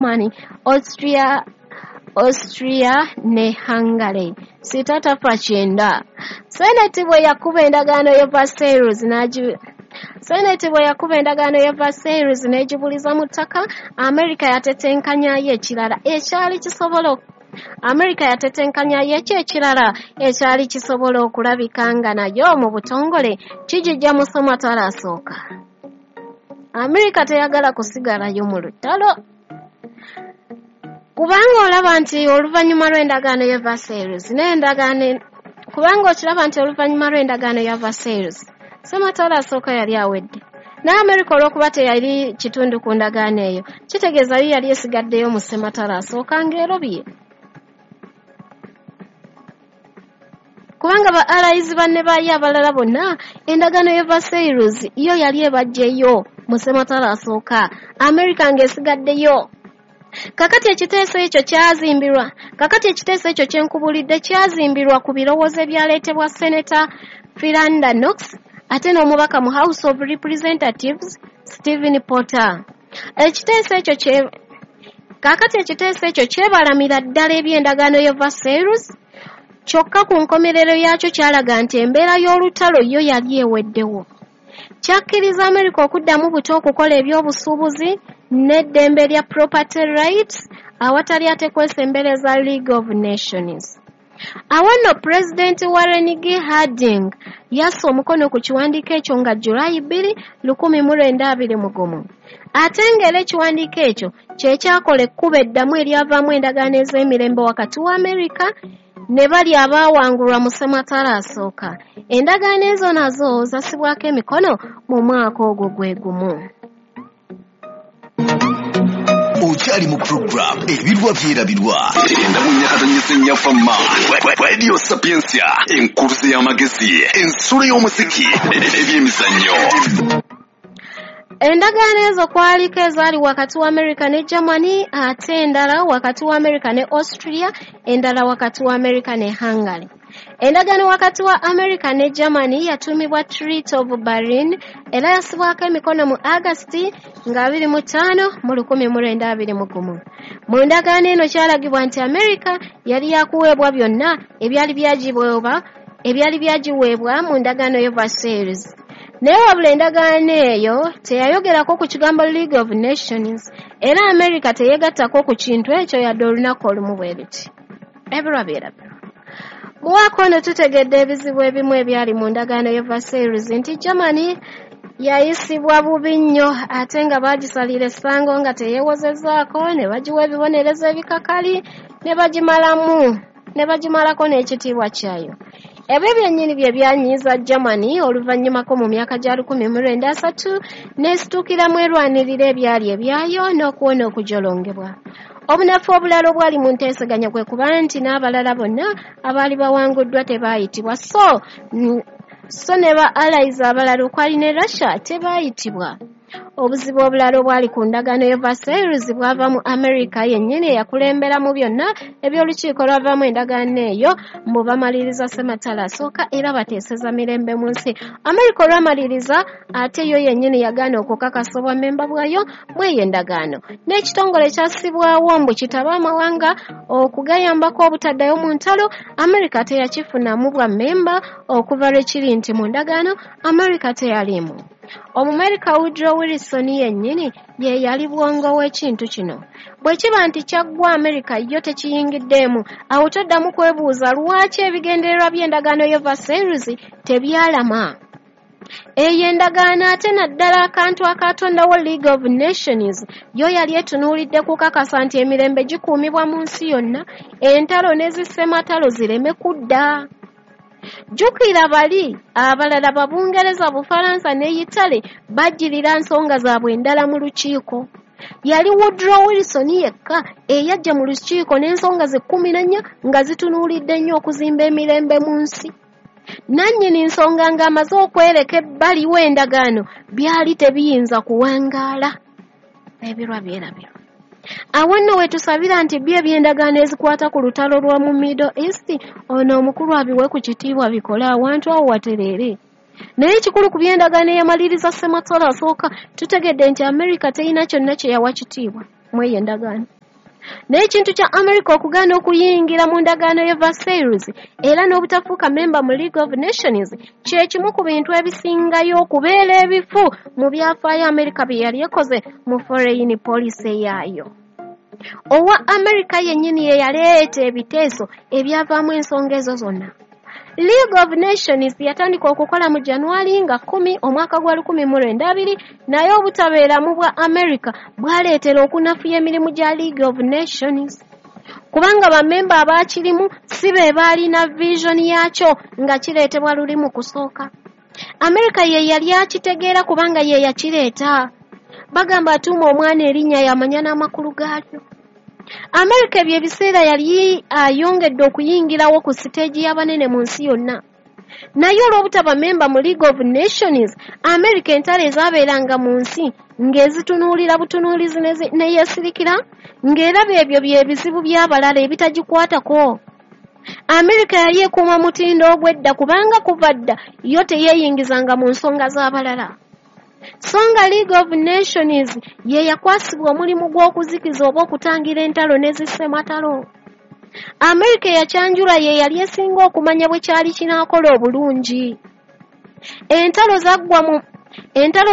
Germany, Austria ne Hungary. Sita tafa kyenda. Senate bwe yakuba endagaano ya Versailles Senate bwe yakuba endagaano ya Versailles n'egibuliza mu ttaka, Amerika yatetenkanyayo ekirala ekyali kisobola Amerika yatetenkanyayo ekyo ekirala ekyali kisobola okulabika nga nayo mu butongole kijijja mu ssematalo asooka. Amerika teyagala kusigalayo mu lutalo, kubanga olaba nti oluvannyuma lw'endagaano ya Versailles n'endagaano kubanga okiraba nti oluvannyuma lw'endagaano ya Versailles ssematalo asooka yali awedde, naye Amerika olw'okuba teyali kitundu ku ndagaano eyo, kitegeeza yo yali esigaddeyo mu ssematalo asooka ng'erobye, kubanga ba allies banne baayo abalala bonna endagaano ya Versailles yo yali ebaggyeyo mu ssematalo asooka, Amerika ng'esigaddeyo. Kakati ekiteeso ekyo kyazimbirwa kakati ekiteeso ekyo kye nkubulidde kyazimbirwa ku birowoozo ebyaleetebwa Senator Philander Knox ate n'omubaka mu House of Representatives Stephen Porter. Ekiteeso ekyo kye kakati ekiteeso ekyo kyebalamira ddala eby'endagaano ya Versailles, kyokka ku nkomerero yaakyo kyalaga nti embeera y'olutalo yo yali eweddewo. Kyakkiriza Amerika okuddamu buto okukola ebyobusuubuzi n'eddembe lya property rights awatali ate kwesembereza League of Nations. Awo nno Pulezidenti Warren G. Harding yassa omukono ku kiwandiiko ekyo nga Julayi 2, 1921. Ate ng'era ekiwandiiko ekyo kye kyakola ekkubo eddamu eryavaamu endagaano ez'emirembe wakati wa Amerika ne bali abaawangulwa mu ssematalo asooka. Endagaano ezo nazo zassibwako emikono mu mwaka ogwo gwe gumu. Okyali mu program Ebirwa Byerabirwa 94.4 Radio Sapientia, enkuluze y'amagezi, ensulo y'omuziki n'ebyemizannyo. Endagaano ezo kwaliko ezaali wakati wa Amerika ne Germany, ate endala wakati wa Amerika ne Austria, endala wakati wa Amerika ne Hungary. Endagaano wakati wa Amerika ne Germany yatuumibwa Treaty of Berlin era yassibwako emikono mu August nga 25 mu 1921. Mu ndagaano eno kyalagibwa nti Amerika yali yakuweebwa byonna ebyali byagiweebwa mu ndagaano ya Versailles. Naye wabula endagaano eyo teyayogerako ku kigambo League of Nations, era Amerika teyeegattako ku kintu ekyo yadde olunaku olumu bwe luti. Ebirwa byerabirwa. Mu mwaka ono tutegedde ebizibu ebimu ebyali mu ndagaano ya Versailles nti Germany yayisibwa bubi nnyo ate nga baagisalira essango nga teyeewozezzaako, ne bagiwa ebibonerezo ebikakali ne bagimalako n'ekitiibwa kyayo. Ebyo byennyini bye byanyiiza Germany oluvannyumako mu myaka gya 1930 n'esituukiramu erwanirira ebyali ebyayo n'okuwona okujolongebwa. Obunafu obulala obwali mu nteeseganya kwe kuba nti n'abalala bonna abaali bawanguddwa tebaayitibwa, so ne ba allies abalala okwali ne Russia tebaayitibwa. Obuzibu obulala obwali ku ndagaano ya Versailles bwava mu Amerika yennyini eyakulembera mu byonna eby'olukiiko lwavaamu endagaano eyo mbu bamaliriza ssematalo asooka era bateeseza mirembe mu nsi. Amerika olwamaliriza ate yo yennyini yagaana okukakasa obwammemba bwayo mu eyo endagaano. N'ekitongole kyassibwawo mbu kitabe amawanga okugayambako obutaddayo mu ntalo, Amerika teyakifunamu bwammemba okuva lwe kiri nti mu ndagaano Amerika teyaliimu. Omumerika Woodrow Wilson yennyini ye yali bwongo w'ekintu kino. Bwe kiba nti kyaggwa Amerika yo tekiyingiddeemu, awo toddamu kwebuuza lwaki ebigendererwa by'endagaano ya Versailles tebyalama. Eyo endagaano ate naddala akantu akatondawo League of Nations yo yali etunuulidde kukakasa nti emirembe gikuumibwa mu nsi yonna, entalo ne zissematalo zireme kudda. Jjukira bali abalala ba Bungereza, Bufalansa ne Yitale bajjirira nsonga zaabwe endala mu lukiiko. Yali Woodrow Wilson yekka eyajja mu lukiiko n'ensonga ze 14 nga zitunuulidde nnyo okuzimba emirembe mu nsi. Nannyini nsonga ng'amaze okwereka ebbali w'endagaano byali tebiyinza kuwangaala. Ebirwa byerabirwa. Awo nno we tusabira nti byo eby'endagaano ezikwata ku lutalo lwa mu Middle East ono omukulu abiwe ku kitiibwa bikole awantu awo watereere. Naye ekikulu ku by'endagaano eyamaliriza ssematalo asooka tutegedde nti Amerika terina kyonna kye yawa kitiibwa. Mu eyo endagaano. Naye ekintu kya America okugaana okuyingira mu ndagaano ye Versailles era n'obutafuuka memba mu League of Nations kye kimu ku bintu ebisingayo okubeera ebifu mu byafaayo America bye yali ekoze mu foreign policy yaayo. Owa America yennyini ye yaleeta ebiteeso ebyavaamu ensonga ezo zonna. League of Nations yatandika okukola mu January nga 10 omwaka gwa 1920, naye obutabeeramu bwa America bwaleetera okunafuya emirimu gya League of Nations, kubanga bammemba abaakirimu si be baalina vision yaakyo nga kireetebwa luli mu kusooka. America ye yali akitegeera kubanga ye yakireeta. Bagamba atuuma omwana erinnya yamanya n'amakulu gaalyo. America ebyo ebiseera yali ayongedde okuyingirawo ku siteegi y'abanene mu nsi yonna. Naye olw'obutaba memba mu League of Nations, America entalo ezaabeeranga mu nsi ng'ezitunuulira butunuulizi ne yeesirikira, ng'eraba ebyo bye bizibu by'abalala ebitagikwatako. America yali ekuuma mutindo ogw'edda kubanga kuva dda yo teyeeyingizanga mu nsonga z'abalala. So nga League of Nations ye yakwasibwa omulimu gw'okuzikiza oba okutangira entalo ne zissematalo. America eyakyanjulwa ye yali esinga okumanya bwe kyali kinaakola obulungi. Entalo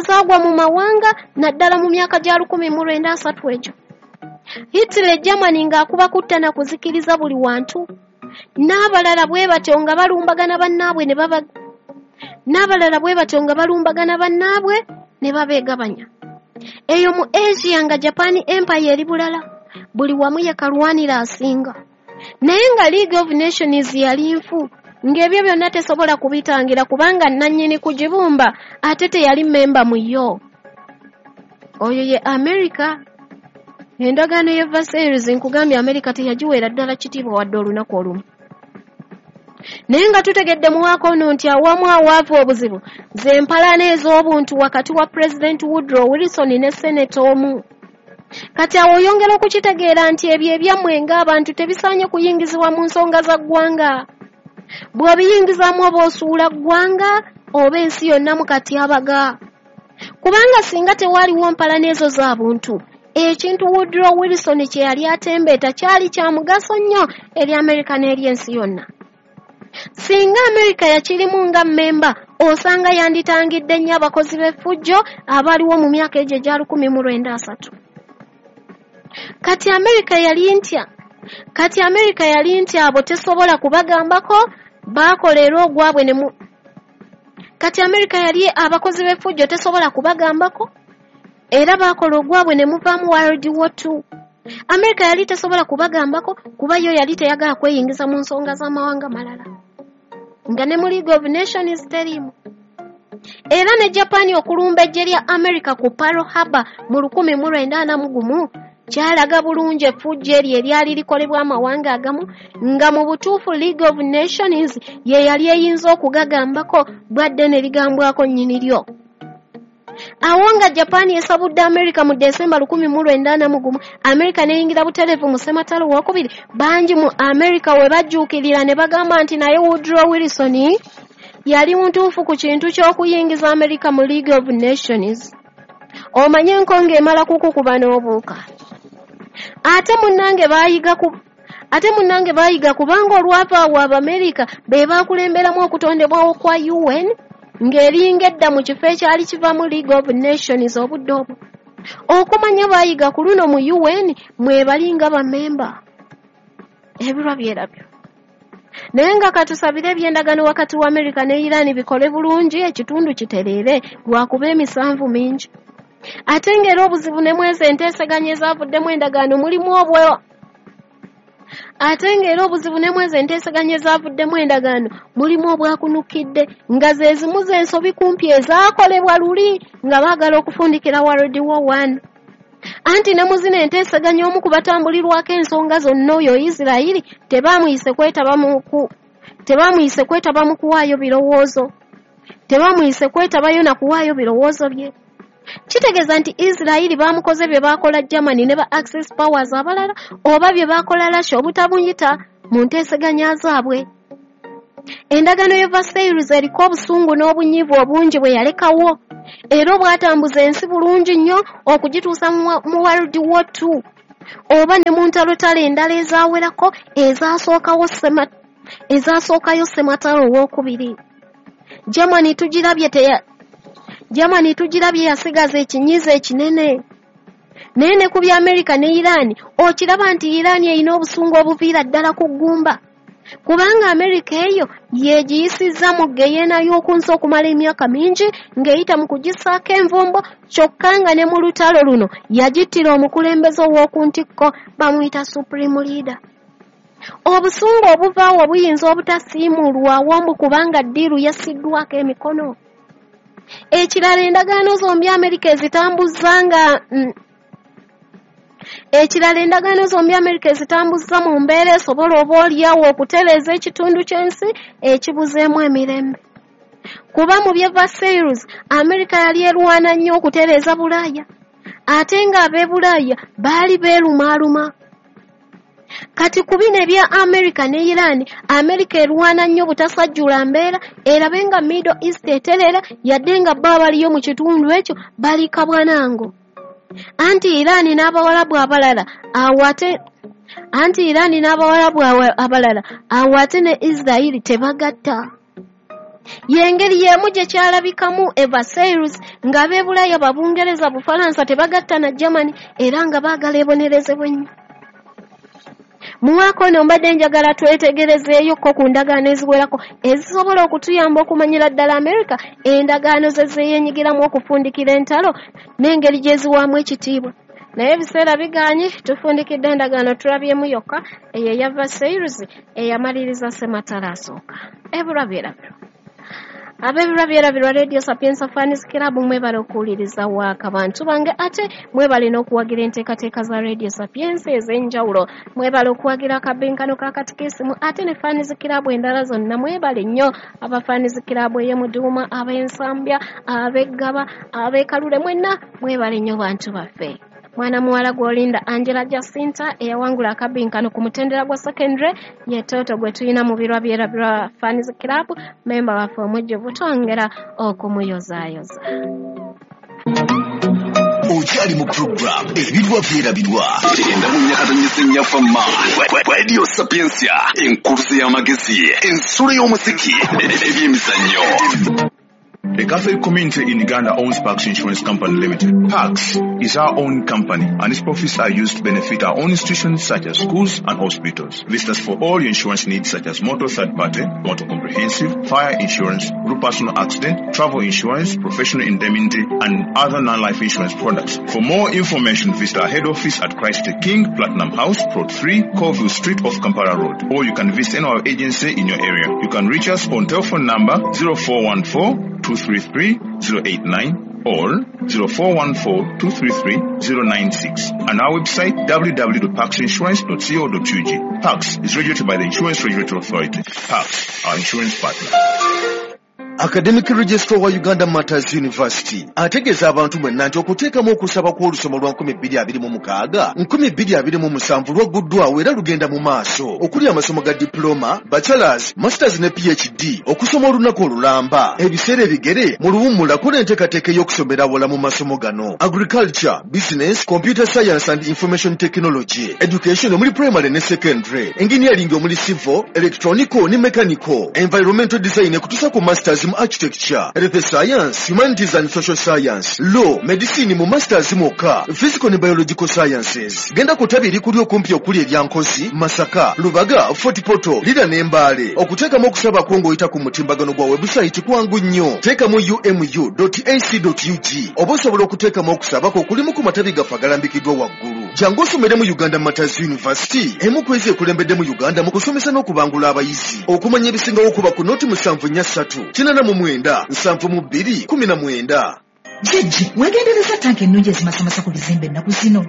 zaagwa mu mawanga naddala mu myaka gya 1930 egyo. Hitler Germany ng'akuba kutta na kuzikiriza buli wantu. N'abalala bwe batyo nga balumbagana bannaabwe ne babeegabanya. Eyo mu Asia nga Japan Empire eri bulala, buli wamu ye kalwanira asinga. Naye nga League of Nations yali nfu, ng'ebyo byonna tesobola kubitangira kubanga nannyini kugibumba ate teyali memba mu yo. Oyo ye America. Endagaano ye Versailles nkugambye America teyagiweera ddala kitiibwa wadde olunaku olumu. Naye nga tutegedde mu mwaka ono nti awamu awaavu obuzibu ze mpalana ez'obuntu wakati wa President Woodrow Wilson ne Senate omu. Kati awo oyongera okukitegeera nti ebyo ebyammwe ng'abantu tebisaanye kuyingizibwa mu nsonga za ggwanga. Bw'obiyingizaamu oba osuula ggwanga oba ensi yonna mu katyabaga. Kubanga singa tewaaliwo mpalana ezo za buntu, ekintu Woodrow Wilson kye yali atembeeta kyali kya mugaso nnyo eri America n'eri ensi yonna. Singa America yakirimu nga mmemba, osanga yanditangidde nnyo abakozi b'effujjo abaaliwo mu myaka egyo egya 1930. Kati America yali ntya abo tesobola kubagambako, baakola era ogwabwe ne mu Kati America yali abakozi b'effujjo tesobola kubagambako, era baakola ogwabwe ne muvaamu World War II. America yali tesobola kubagambako kuba yo yali teyagala kweyingiza mu nsonga z'amawanga malala, nga ne mu League of Nations teriimu. Era ne Japan okulumba eggye lya America ku Pearl Harbor mu 1941 kyalaga bulungi effujjo eryo eryali likolebwa amawanga agamu, nga mu butuufu League of Nations ye yali eyinza okugagambako bwadde ne ligambwako nnyini lyo. Awo nga Japan esabudde America mu Desemba 1941, America n'eyingira butereevu mu ssematalo owokubiri. Bangi mu America we bajjuukirira ne bagamba nti naye Woodrow Wilson yali mutuufu ku kintu ky'okuyingiza America mu League of Nations. Omanye enkonge emala kukukuba n'obuuka. Ate munnange baayiga kubanga olwava awo Abamerika be baakulemberamu okutondebwawo kwa UN ng'eringa edda mu kifo ekyali kiva mu League of Nations obudde obwo. Okumanya baayiga ku luno mu UN mwe bali nga bammemba. Ebirwa byerabyo. Naye nga katusabire eby'endagaano wakati wa America ne Iran bikole bulungi, ekitundu kitereere lwakuba emisanvu mingi. Ate ng'era obuzibu ne mwezi enteeseganya ezaavuddemu endagaano mulimu obwo. Ate ng'era obuzibu ne mwezi enteeseganya ezaavuddemu endagaano mulimu obwakunukidde, nga ze zimu z'ensobi kumpi ezaakolebwa luli nga baagala okufundikira World War I. Anti ne mu zino enteeseganya omu ku batambulirwako ensonga zonna oyo Isirayiri tebaamuyise kwetaba mu kuwaayo birowoozo. Tebaamuyise kwetabayo na kuwaayo birowoozo bye. Kitegeeza nti Isirayiri baamukoze bye baakola Germany ne ba Axis Powers abalala oba bye baakola Russia obutabuyita mu nteeseganya zaabwe. Endagaano y'e Versailles eriko obusungu n'obunyiivu obungi bwe yalekawo, era obwatambuza ensi bulungi nnyo okugituusa mu World War II oba ne mu ntalotalo endala ezaawerako ezaasookayo Ssematalo owookubiri. Germany tugirabye yasigaza ekinyiizo ekinene. Naye ne ku bya Amerika ne Iran okiraba nti Iran erina obusungu obuviira ddala ku ggumba, kubanga Amerika eyo yeegiyisizza mu ggeyeena y'oku nsi okumala emyaka mingi ng'eyita mu kugissaako envumbo, kyokka nga ne mu lutalo luno yagittira omukulembeze ow'oku ntikko bamuyita Supreme Leader. Obusungu obuvaawo buyinza obutasiimuulwawo mbu kubanga ddiiru yassiddwako emikono. Ekirala endagaano zombi Amerika ezitambuzza nga ekirala endagaano zombi Amerika ezitambuzza mu mbeera esobola oba oliawo okutereeza ekitundu ky'ensi ekibuzeemu emirembe. Kuba mu by'e Versailles Amerika yali erwana nnyo okutereeza Bulaaya, ate ng'ab'e Bulaaya baali beerumaaluma. Kati ku bino ebya Amerika ne Iran, Amerika erwana nnyo butasajjula mbeera erabe nga Middle East eterera, yadde nga bo abaliyo mu kitundu ekyo bali kabwanango. Anti Iran n'Abawalabu abalala awo ate ne Israel tebagatta. Y'engeri y'emu gye kyalabikamu e Versailles ng'ab'e Bulaaya Babungereza, Bufalansa tebagatta na Germany era nga baagala ebonerezebwe nnyo. Mu mwaka ono mbadde njagala twetegerezeeyokko ku ndagaano eziwerako ezisobola okutuyamba okumanyira ddala Amerika endagaano ze zeeyeenyigiramu okufundikira entalo n'engeri gye ziwaamu ekitiibwa. Naye ebiseera bigaanyi, tufundikidde endagaano tulabyemu yokka eyo eya Versailles eyamaliriza Ssematalo asooka. Ebirwa byerabirwa. Ab'ebirwa byerabirwa Radio Sapienza Fans Club mwebale okuwuliriza waaka bantu bange, ate mwebale n'okuwagira enteekateeka za Radio Sapienza ez'enjawulo. Mwebale okuwagira akabinkano ka katikisimu ate ne Fans Club endala zonna mwebale nnyo. Aba Fans Club ey'e Muduuma, ab'Ensambya, ab'Eggaba, ab'e Kalule, mwenna mwebale nnyo bantu baffe. Mwana muwala gw'olinda Angela Jacinta eyawangula akabinkano ku mutendera gwa secondary ye Toto gwe tulina mu birwa byerabirwa Fans Club, memba waffe omujjuvu, twongera okumuyozaayoza. Okyali mu program ebirwa byerabirwa enda mu nyakatonyese Radio Sapientia, enkuluze y'amagezi, ensulo y'omuziki, ebyemizannyo. The Catholic community in Uganda owns Pax Insurance Company Limited. Pax is our own company and its profits are used to benefit our own institutions such as schools and hospitals. Visit us for all your insurance needs such as motor third party, motor comprehensive, fire insurance, group personal accident, travel insurance, professional indemnity and other non-life insurance products. For more information, visit our head office at Christ the King, Platinum House, Plot 3, Colville Street off Kampala Road. Or you can visit any of our agency in your area. You can reach us on telephone number 0414 233 089 or 0414 233 096 and our website www.paxinsurance.co.ug. Pax is regulated by the Insurance Regulatory Authority. Pax, our insurance partner. Academic Registrar wa Uganda Martyrs University ategeeza abantu mwenna nti okuteekamu okusaba kw'olusoma lwa 2026 2027 lwagguddwawo era lugenda mu maaso, okuli amasomo ga diploma, bachelors, masters ne PhD, okusoma olunaku olulamba, ebiseera ebigere mu luwummula kola enteekateeka ey'okusomera awala mu masomo gano: agriculture, business, computer science and information technology, education omuli primary ne secondary, engineering omuli civil, electronical ne mechanical, environmental design kutuusa ku masters mu architecture, health science, humanities and social science, law, medicine mu masters mwokka, physical ne biological sciences. Genda ku ttabi erikuli okumpi okuli erya Nkozi, Masaka, Lubaga, Fort Portal, Lira ne Mbale. Okuteekamu okusaba kwo ng'oyita ku mutimbagano gwa website kwangu nnyo. Teekamu umu.ac.ug oba osobola okuteekamu okusaba kwo okulimu ku matabi gaffe agalambikiddwa waggulu. Jangu osomere mu Uganda Martyrs University, emu ku ezo ekulembedde mu Uganda mu kusomesa n'okubangula abayizi. Okumanya ebisingawo kuba ku noti 743 89 72 19. Jjajja, weegendereza tanka ennungi ezimasamasa ku bizimbe ennaku zino.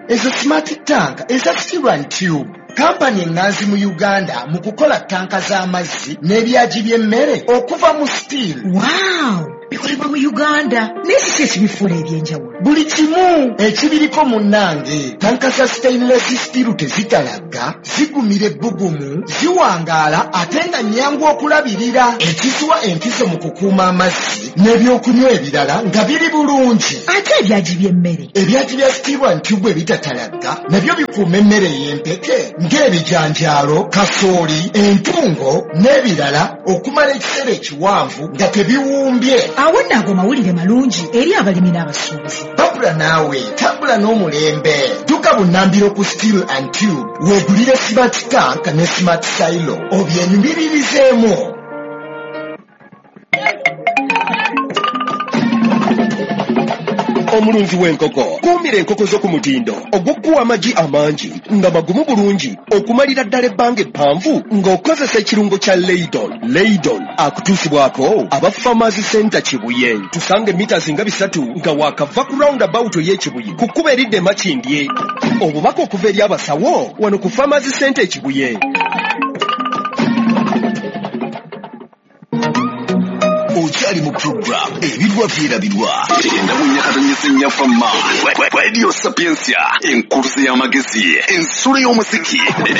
Ezo smart tank eza steel and tube. Kampani ennanzi mu Uganda mu kukola tanka z'amazzi n'ebyagi by'emmere okuva mu steel. Wow! Bikolebwa mu Uganda, naye kiki ekibifuula ebyenjawulo? Buli kimu ekibiriko munnange. Tanka za stainless steel tezitalagga, zigumira ebbugumu, ziwangaala ate nga nnyangu okulabirira, ekiziwa enkizo mu kukuuma amazzi n'ebyokunywa ebirala nga biri bulungi. Ate ebyagi by'emmere? Ebyagi bya steel and tube ebitatalagga nabyo bikuuma emmere ey'empeke ng'ebijanjaalo, kasooli, entungo n'ebirala okumala ekiseera ekiwanvu nga tebiwumbye. Awo nno ago mawulire malungi eri abalimi n'abasuubuzi. Babula naawe tambula n'omulembe. Dduka bunnambiro ku Steel and Tube weegulire smart tank ne smart silo obyenyumiririzeemu. Omulunzi w'enkoko, kuumira enkoko zo ku mutindo ogw'okuwa amagi amangi nga magumu bulungi okumalira ddala ebbanga eppanvu ng'okozesa ekirungo kya Leidon. Leidon akutuusibwako aba Farmers Center Kibuye. Tusanga emita zinga 3 nga waakava ku roundabout ey'Ekibuye ku kkubo eridda e Makindye. Obubaka okuva eri abasawo wano ku Farmers Center e Kibuye. Okyali mu program Ebirwa Byerabirwa. Genda mu nyakatonyesa ennyaffe ma Radio Sapientia, enkuluze y'amagezi, ensulo y'omuziki.